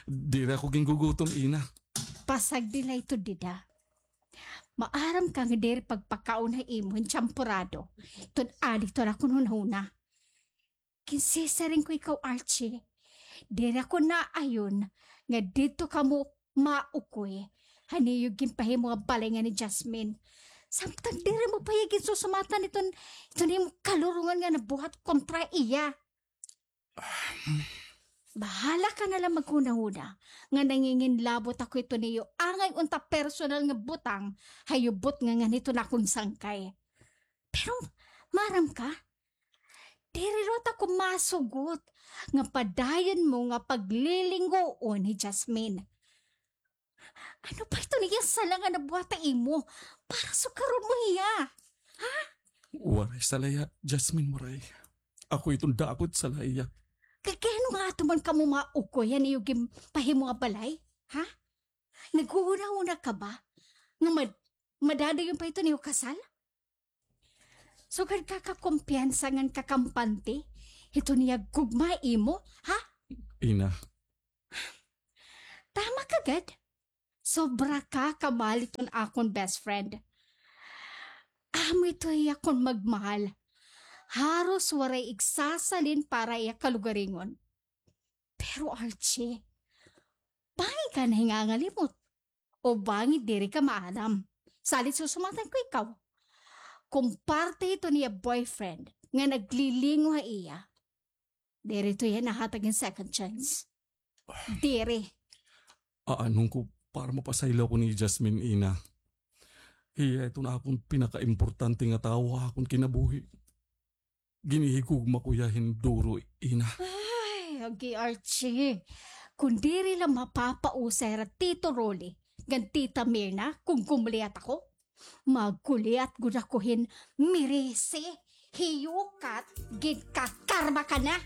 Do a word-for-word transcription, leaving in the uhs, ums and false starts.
Diri ako gingugutom, Ina. Pasagdi la ito dida. Maaram ka nga diri pagpakaon ha imo hin tsamporado. Iton adi iton akon hunahuna. Ginsisiring ko ikaw, Archie. Diri ako naayon nga didto kamo maukoy han iyo ginpahimo nga balay ngan hi Jasmine. Samtang diri mo pa hiya ginsusumatan iton, iton imo kalurongan nga nabuhat kontra iya. Bahala ka na la maghunahuna nga nanginginlabot ako iton iyo angay unta personal nga butang ha iyo butnga ngan hiton akon sangkay. Pero, maaram ka, diri liwat ako masugot nga padayon mo nga paglilinguon hi Jasmine. Ano pa iton iya sala nga nabuhat ha imo para sukaron mo hiya? Ha? Waray sala hiya, Jasmine, waray. Ako iton daakon sala hiya. Kay ano nga ato man kamo maukoy han iyo ginpahimo nga balay? Ha? Naghuhunahuna ka ba nga mad-, madadayon pa iton iyo kasal? Sugad ka kakumpiyansa ngan kakampante hiton iya gugma ha imo, ha? Ina. Tama ka gad. Sobra ka kamahal hiton akon best friend. Amo ito hiya kon magmahal. Haros waray igsasalin para iya kalugaringon. Pero Archie, bangin ka nahingangalimot. O bangin diri ka maaram. Salit susumatan ko ikaw. Kon parte ito niya boyfriend nga naglilingo ha iya, diri to iya nahatag hin second chance. Diri. Aanon ko para mapasaylo ako ni Jasmine, Ina. Hiya iton akon pinakaimportante nga tawo ha akon kinabuhi. Ginhihigugma ko hiya hin duro, Ina. Ay, agi Archie. Kon diri la mapapausa hira Tito Rolly ngan Tita Mirna kon gumaliat ako, magkuliat gud ako hin merese. Hiyukat, ginkakarma ka na.